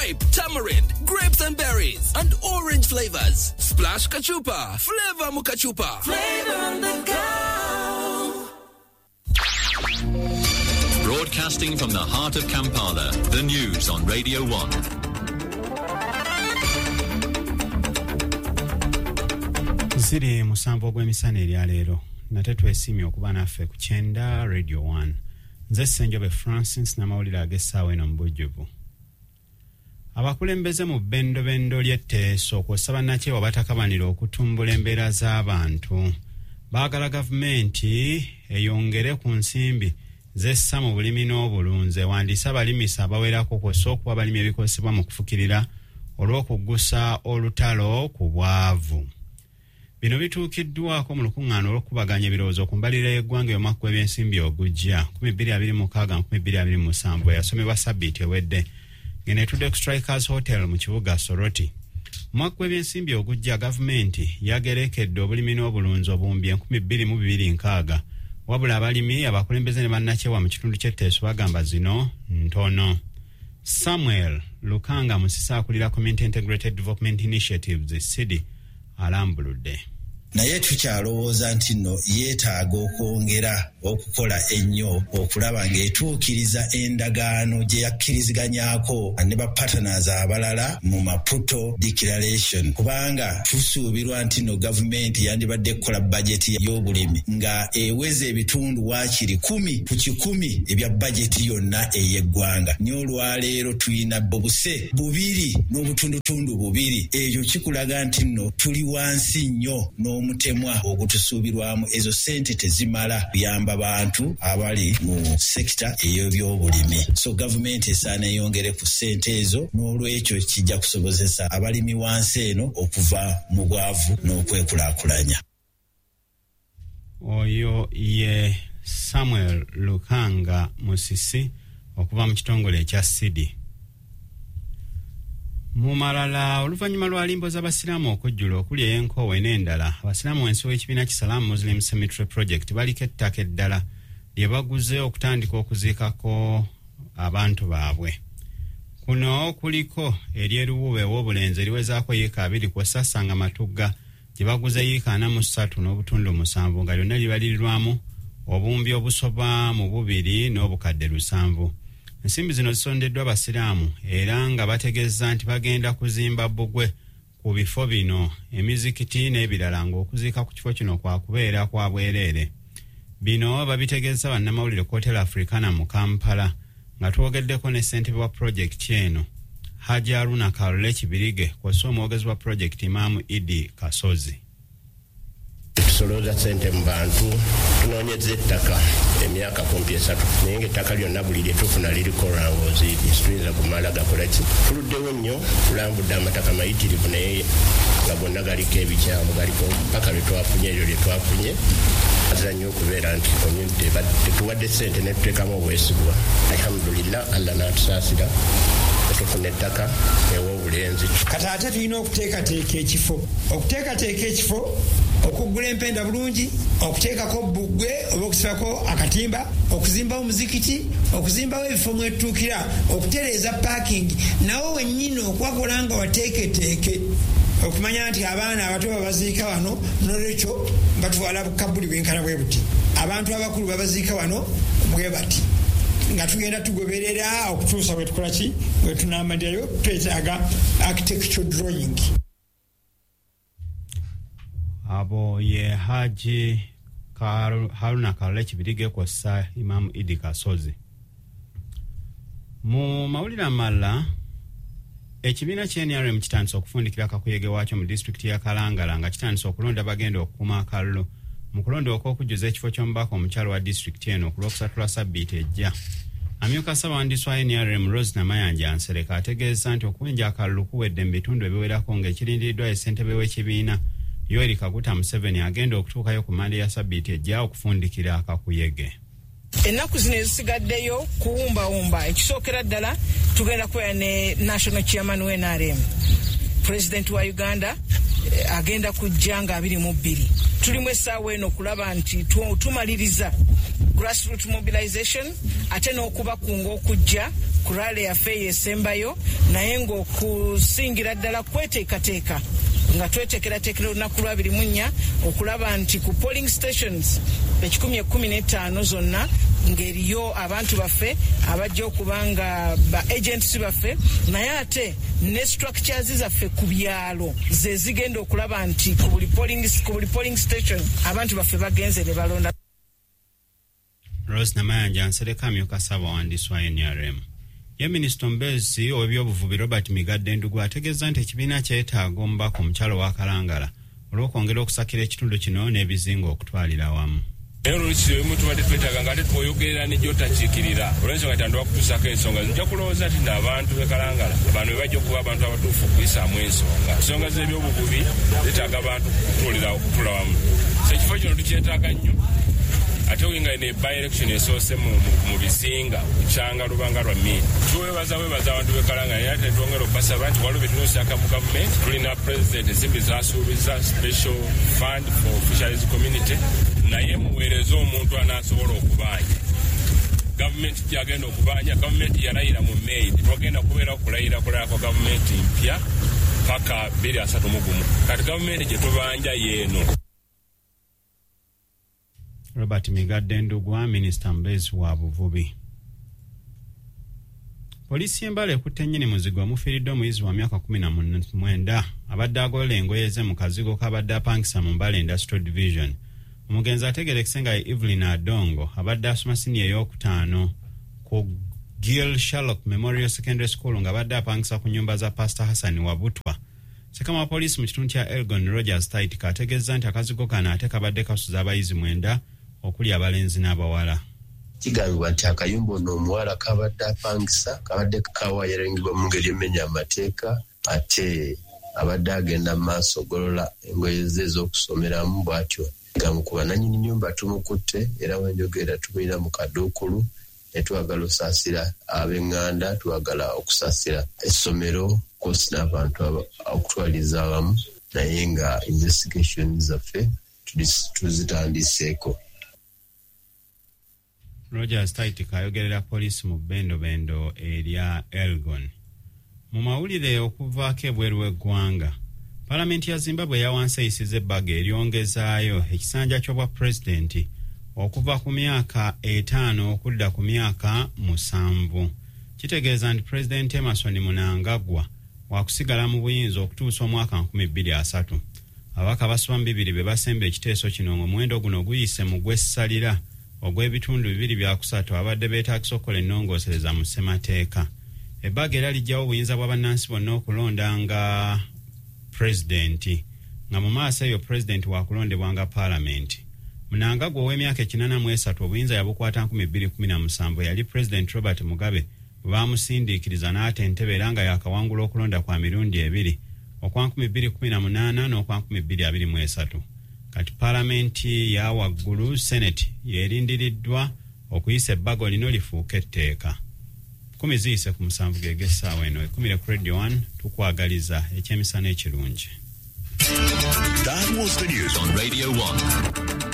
Grape, tamarind, grapes and berries, and orange flavors. Splash Kachupa. Flavor Mukachupa. Flavor on the go. Broadcasting from the heart of Kampala, the news on Radio 1. Ziri 7 ogw'emisana eryaleero nate twesiimye okuba naffe ku Kyenda Radio 1. Nze Ssenjobe Francis n'amawulire ag'essaawa eno mu bujjuvu. Abakulembeze mu bbendobendo ly'etteeso kw'ossa bannakyewa batakabanira okutumbula embeera z'abantu. Baagala gavumenti eyongere ku nsimbi zessa mu bulimi n'obulunzi, ewandiise abalimisa abawerako kw'ossa okuwa abalimi ebikozesebwa mu kufukirira olw'okuggusa olutalo ku bwavu. Bino bituukiddwako mu lukuŋŋaana olw'okukubaganya ebirowoozo ku mbalirira y'eggwanga ey'omwaka gw'ebyensimbi ogujja 2026-2027 eyasomebwa sabbiiti ewedde ng'eno etudde ku Strikers Hotel mu kibuga Soroti. Omwaka gw'ebyensimbi ogujja gavumenti yagerekedde obulimi n'obulunzi obuwumbi 2260, wabula abalimi, abakulembeze ne bannakyewa mu kitundu ky'Etteeso bagamba zino ntono. Samuel Lukanga Musisi akulira Community Integrated Development Initiatives CIDI alambuludde. Naye tukyalowooza nti nno yeetaaga okwongera okukola ennyo okulaba ng'etuukiriza endagaano gye yakkiriziganyaako ne ba partners abalala mu Maputo Declaration, kubanga tusuubirwa nti nno gavumenti yandibadde kukola bajeti y'obulimi nga eweza ebitundu waakiri 10 ku 100 ebya bajeti yonna ey'eggwanga. Naye olwaleero tulina obuse 2 n'obutundutundu 2. Ekyo kikulaga nti nno tuli wansi nnyo n'omutemwa ogutusuubirwamu. Ezo ssente tezimala kuyamba bantu abali mu sekita ey'ebyobulimi. So gavumenti esaana eyongere ku ssente ezo, n'olwekyo kijja kusobozesa abalimi wansi eno okuva mu bwavu n'okwekulaakulanya. Oyo ye Samuel Lukanga Musisi okuva mu kitongole ekya CIDI. Mu malala, oluvannyuma lwa limbo z'abasiraamu okujjula okuli ey'enkoowe n'endala, abasiraamu wansi w'ekibiina Kisalaamu Muslim Cemetery Project baliko ettaka eddala lye baguze okutandika okuziikako abantu baabwe. Kuno kuliko ery'eruwuba ew'obulenzi eriwezaako yiika 2 kw'ossa Ssanga Matugga gye baguze yiika 43 n'obutundu 7 nga lyonna libalirirwamu obuwumbi obusoba mu 2 n'obukadde 7. Ensimbi zino zisondeddwa abasiraamu era nga bategeeza nti bagenda kuzimba bbugwe ku bifo bino, emizikiti n'ebirala, ng'okuziika ku kifo kino kwa kubeera kwa bwereere. Bino babitegeeza bannamawulire ku Hotel Africana mu Kampala nga twogeddeko ne ssentebe wa pulojekiti eno Haji Haruna Kalule Kibirige kw'ossa omwogezi wa pulojekiti Imaamu Idi Kasozi. Tusolooza ssente mu bantu, tunoonyeza ettaka emyaka kumpi 3, naye ng'ettaka lyonna buli lye tufuna liriko lwangoozi, tuyinza kumala gakola ki? Tuluddewo nnyo, tulambudde amataka mayitirivu naye nga gonna galiko ebikyamu, galiko paka lwe twafunye eryo lye twafunye. Azira nnyo okubeera nti community tetuwadde ssente ne tuteekamu obwesigwa. Alhamdulillah, Allah n'atusaasira tufuna ettaka ew'obulenzi. Kati ate tulina okuteekateeka ekifo, okuteekateeka ekifo, okuggula empenda bulungi, okuteekako bbugwe oba okusibako akatimba, okuzimbawo omuzikiti, okuzimbawo ebifo mwetutuukira, okutereeza parking, nawo wennyini okwakola nga wateeketeeke okumanya nti abaana abato babaziika wano, nolwekyo batwala bukabuli bwenkana bwe buti, abantu abakulu babaziika wano bwe bati, nga tugenda tugoberera okutuusa bwe tukola ki bwe tunaamalirayo. Twetaaga architecture drawing. Abo ye Haji Haruna Kalule Kibirige kw'ossa Imaamu Idi Kasozi. Mu mawulire amalala, ekibiina kya NRM kitandise okufundikira kakuyege waakyo mu disitulikiti ya Kalangala nga kitandise okulonda bagenda okukuuma akalulu mu kulonda okw'okujjuza ekifo ky'omubaka omukyalo wa disitulikiti eno ku Lwokusatu lwa sabbiiti ejja. Amyuka ssabawandiisi wa NRM Rose Namayanja Nsereko ategeeza nti okuwenja akalulu kuwedde mu bitundu ebiwerako ng'ekirindiriddwa ye ssentebe w'ekibiina Yoweri Kaguta Museveni agenda okutuukayo ku Mmande ya sabbiiti ejja okufundikira akakuyege. Ennaku zino ezisigaddeyo kuwumbawumba, ekisookera ddala tugenda kubeera ne National Chairman wa NRM, President wa Uganda agenda kujja nga 22. Tulimu essaawa eno okulaba nti tumaliriza grassroot mobilization ate n'okubakunga okujja ku rally yaffe eyo esembayo, naye ng'okusingira ddala kweteekateeka nga tweteekerateekera olunaku lwa 24 okulaba nti ku polling stations 115 zonna ng'eriyo abantu baffe abajja okuba nga ba agents baffe, naye ate ne structures zaffe ku byalo ze zigenda okulaba nti ku buli polling station abantu baffe bagenze ne balonda. Rose Namayanja Nsereko amyuka ssaabawandiisi wa NRM. Ye minisita omubeezi ow'ebyobuvubi Robert Migadde Ndugu ategeeza nti ekibiina kyetaaga omubaka omukyalo wa Kalangala olw'okwongera okusakira ekitundu kino n'ebizinga okutwalira awamu. Naye oluusi ebimu tubadde twetaaga nga ate twoyogerera ne gy'otakiikirira olw'ensonga tandwa kutuusaako ensonga. Nja kulowooza nti n'abantu b'e Kalangala bano be bajja okuba abantu abatuufu okuyisaamu ensonga. Ensonga z'ebyobuvubi zeetaaga abantu okutuula wamu. So ekifo kino tukyetaaga nnyo, ate nga ne by-election esoose mu bizinga kukyanga lubanga lwa mmini. Tuwebaza abantu b'e Kalangala, naye ate twongera okubasaba nti waliwo bye tulina mu gavumenti. Tulina pulezidenti ensimbi z'asuubiza special fund for fisheries community, naye muweereze omuntu anaasobola okubanja. Gavumenti gyagenda okubanja, gavumenti yalayira mu May, tetwagenda kubeera okulayira kulala kwa gavumenti mpya paka 2031. Kati gavumenti gye tubanja yeeno. Robert Migadde Ndugwa, minisita mubeezi wa buvubi. Poliisi y'Embale ekutte nnyini muzigo omufiiriddwa omuyizi wa myaka 19 abadde agolola engoye ze mu kazigo k'abadde apangisa mu Mbale Industrial Division. Omugenzi ategeerekese nga ye Evelyn Adongo abadde asoma siniya ey'okutaano ku Gil Sherlock Memorial Secondary School ng'abadde apangisa ku nnyumba za Pastor Hassan Wabutwa. Ssekama wa poliisi mu kitundu kya Elgon Rogers Taitika ategeeza nti akazigo kano ate kabadde kasuza abayizi 9 okuli abalenzi n'abawala. Kigambibwa nti akayumba ono omuwala kabadde apangisa kabadde kawayaringibwa mu ngeri emenya amateeka, ate abadde agenda mu maaso ogolola engoye ze ez'okusomeramu bw'atyo gamukuba. Nannyini nnyumba tumukutte era wenjogera tumulina mu kaduukulu, ne twagala osaasira ab'eŋŋanda, twagala okusaasira essomero kosi n'abantu okutwaliza awamu, naye nga investigation zaffe tuzitandiseeko. Rogers Taitika ayogerera poliisi mu bendobendo erya Elgon. Mu mawulire okuvaako ebweru w'eggwanga, Palamenti ya Zimbabwe yawansi eyisiza ebbago eryongezaayo ekisanja ky'obwa pulezidenti okuva ku myaka 5 okudda ku myaka 7. Kitegeeza nti Pulezidenti Emmerson Mnangagwa wakusigala mu buyinza okutuusa omwaka 2030. Ababaka basoba mu 2 be basemba ekiteeso kino ng'omuwendo guno guyise mu gw'essalira ogw'ebitundu 2 3 abadde beetaagisa okukola ennongoosereza mu ssemateeka. Ebbago era lijjawo obuyinza bwa bannansi bonna okulonda nga pulezidenti, nga mu maaso eyo pulezidenti wakulondebwanga paalamenti. Mnangagwa ow'emyaka 83 obuyinza yabukwata 2017 yali pulezidenti Robert Mugabe bwe baamusindiikiriza n'ata entebe, era nga yakawangula okulonda kwa mirundi 2, okwa 2018 n'okwa 2023. Kati paalamenti ya waggulu Senate yerindiriddwa okuyisa ebbago lino lifuuke etteeka. 6:50 geg'essaawa eno. Ekumire ku Radio 1, tukwagaliza ekyemisana ekirungi. That was the news on Radio 1.